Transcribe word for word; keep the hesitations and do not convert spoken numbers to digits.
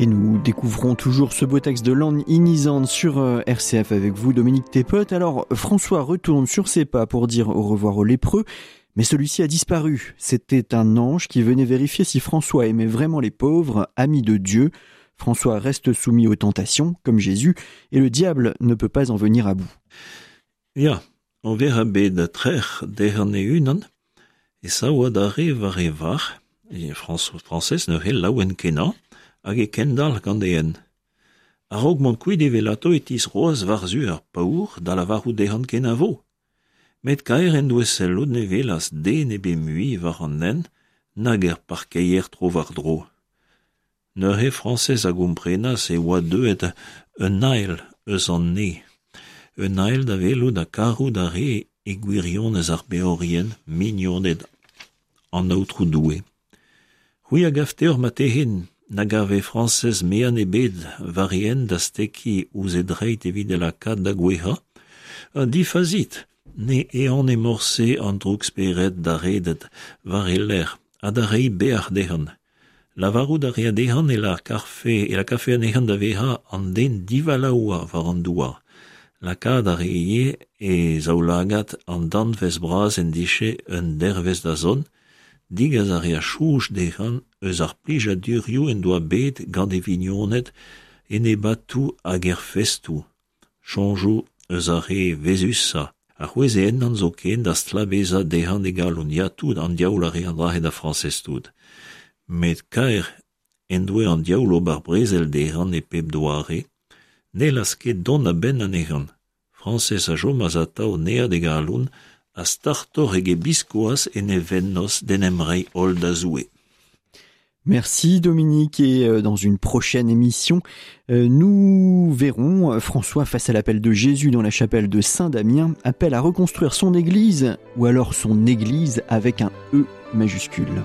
Et nous découvrons toujours ce beau texte de Lan Inizan sur R C F avec vous, Dominique Thépaut. Alors, François retourne sur ses pas pour dire au revoir au lépreux, mais celui-ci a disparu. C'était un ange qui venait vérifier si François aimait vraiment les pauvres, amis de Dieu. François reste soumis aux tentations, comme Jésus, et le diable ne peut pas en venir à bout. Ya, o vezañ bet trec'h dezhañ e-unan, e sav adarre war e varc'h, e François, Frañsez neuze laouen kenañ, hag e kendalc'h gant e hent. A-raok mont kuit evelato e tisroaz war-zu ar paour da lavarout dezhañ kenavo. Met kaer en doe sellout ne welas den ebet mui war an hent nag er parkeier tro war-dro. Neuze Frañsez a gomprenas e oa deuet un ael eus an ne. Un ael da welout ha karout a re e gwirionez ar beorien mignoned an aotrou Doue. C'hwi a gav teoc'h marteze na gave Frañsez mean ebet war e hent da stekiñ ouzh e dreid evit e lakaat da gouezhañ. Difazit, ne ehane morse an droug-spered da redet war e lerc'h ha da reiñ bec'h dezhañ. Lavarout a rea dezhañ e lakafe, e lakafe anezhañ da vezañ an den divalaoua war an douar. Lakaat a re ivez e zaoulagad an danvez bras en dije un dervezh da zont, digas a rea soñj dezhañ eus ar plijadurioù en doa bet gant e vignoned en ebatoù hag er festoù. Soñjoù eus ar re vezusañ. A c'hwezhe ennañ zoken da stlabezañ dezhañ e galon. Ya tout, an diaoul a re an dra-se da Frañsez tout. Met kaer en doe an diaoul ober brezel dezhañ e pep doare, n'hellas ket dont a-benn anezhañ. Frañsez a chomas atav neat e galon ha startoc'h eget biskoazh en e vennozh d'en em reiñ holl da Zoue. Merci Dominique, et dans une prochaine émission, nous verrons François face à l'appel de Jésus dans la chapelle de Saint-Damien, appel à reconstruire son église, ou alors son église avec un E majuscule.